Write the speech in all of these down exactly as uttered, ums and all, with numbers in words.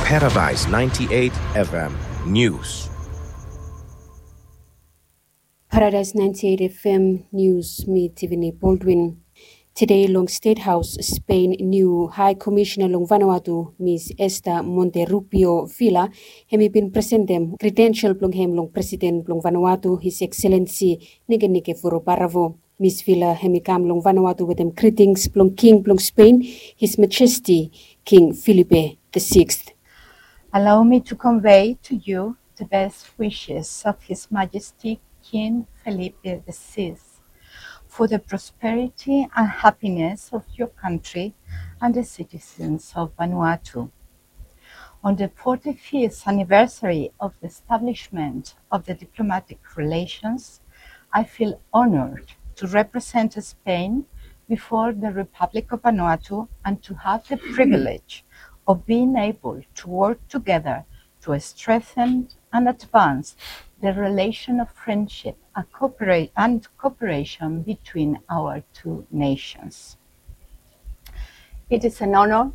Paradise ninety-eight F M News. Paradise ninety-eight F M News, mi Tiffany Baldwin. Tede long State House, Spain, niu High Commissioner long Vanuatu, Miss Esther Monterrubio Vila, hemi bin presentem credential blong hem long President blong Vanuatu, His Excellency Nikenike Vurobaravu. Miss Vila hemi kam long Vanuatu wetem greetings blong King blong Spain, His Majesty King Felipe the Sixth. Allow me to convey to you the best wishes of His Majesty King Felipe the Sixth for the prosperity and happiness of your country and the citizens of Vanuatu. On the forty-fifth anniversary of the establishment of the diplomatic relations, I feel honored to represent Spain before the Republic of Vanuatu and to have the privilege of being able to work together to strengthen and advance the relation of friendship and coopera-, and cooperation between our two nations. It is an honor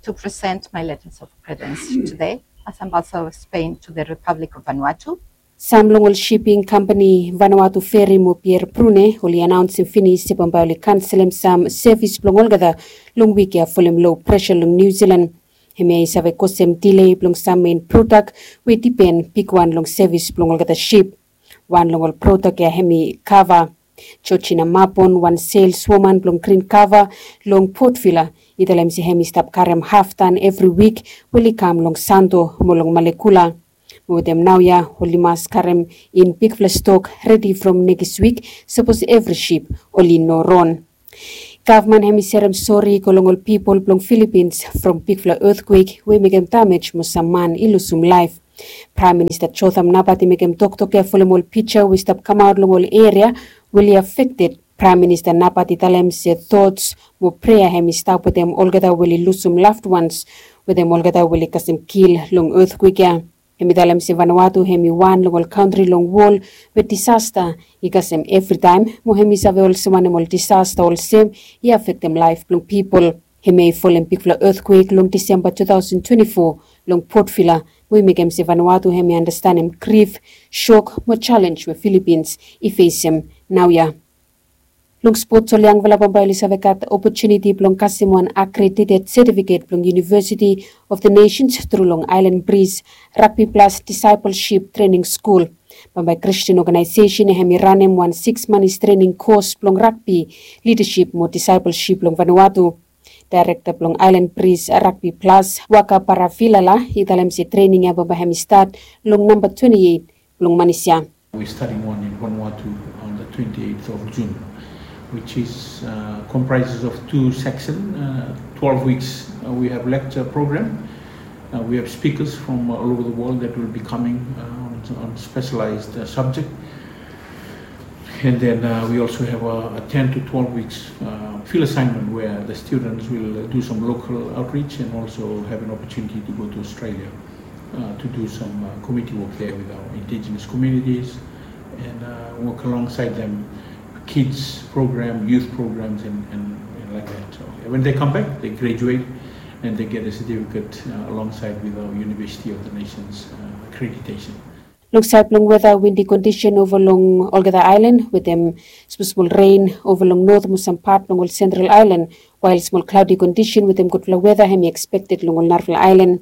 to present my letters of credence today as Ambassador of Spain to the Republic of Vanuatu. Sam long ol shipping company Vanuatu Ferry mo Pier Brune oli anaonsem finis se bambae oli kanselem sam sevis blong olgeta long wik ya folem low pressure long New Zealand. Hemia i save kosem delay blong sam main prodak we i dipen bigwan long sevis blong olgeta ship. Wan long ol prodak ya hemi kava. Georgina Mapon, wan sales woman blong Green Cover long Port Vila, i talem se hemi stap karem haftan evri wik we oli kam long Santo mo long Malekula. Mo wetem naoia oli mas karem in bigfala stok redi from nekis wik, sapos evri ship oli no ron. Gavman hemi serem sori i go long ol pipol blong Philippines from bigfala etkwek we i mekem damej mo sam man i lusum laef. Praem Minista Jotham Napat i mekem toktok ya folem ol pija we i stap kamaot long ol eria we oli afekted. Praem Minista Napat i talem se tots mo prea hemi stap wetem olgeta we oli lusum loved ones, wetem olgeta we oli kasem kil long etkwek ya. Hemi talem se Vanuatu hemi wan long ol kantri long wol we disasta i kasem evritaem, mo hemi save olsem wanem ol disasta olsem i afektem laef blong pipol. Hemia i folem bigfala etkwek long Disemba two thousand twenty-four long Port Vila, we i mekem se Vanuatu hemi andastanem grif, shok mo jalenj we Philippines i fesem naoia. Long spots, ol yangfala bambae oli save gat opotuniti blong kasem wan accredited certificate blong University of the Nations tru long Island Breeze Rugby Plus Discipleship Training School. Bambae Christian Organization hemi ranem wan six months training course blong rugby, leadership mo discipleship long Vanuatu. Director blong Island Breeze Rugby Plus, Waka Paravilala, i talem se training ya bambae hemi stat long namba twenty-eight blong manis ya. We're starting one in Vanuatu on the twenty-eighth of June, which is, uh, comprises of two section, uh, twelve weeks. Uh, we have lecture program. Uh, we have speakers from all over the world that will be coming, uh, on, on specialized, uh, subject. And then, uh, we also have a, a ten to twelve weeks, uh, field assignment where the students will, uh, do some local outreach and also have an opportunity to go to Australia, uh, to do some, uh, committee work there with our indigenous communities and, uh, work alongside them, kids program, youth programs, and, and, and like that. So when they come back, they graduate and they get a certificate, uh, alongside with our University of the Nations, uh, accreditation. Long saed blong weta, windi kondisen ova long olgeta aelan wetem smol smol ren ova long not mo sam pat blong ol sentral aelan, wael smol klaodi kondisen wetem gudfala weta hemi ekspekted long ol narafala aelan.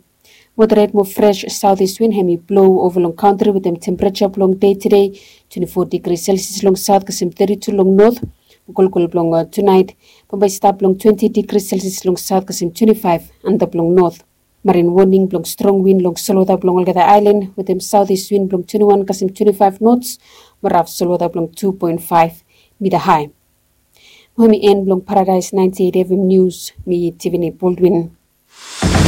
Moderet mo fres saotis win hemi blo ova long kantri wetem tempereja blong dei tede twenty-four digri Celsius long saot kasem thirty-two long not. Mo kolkol blong, uh, tunaet bambae i stap long twenty digri Celsius long saot kasem twenty-five antap long not. Marin woning blong strong win long solwota blong olgeta aelan wetem saotis win blong twenty-one kasem twenty-five knots mo raf solwota blong two point five mita hae. Mo hemi en blong Paradise ninety-eight F M News, mi Tiffany Baldwin.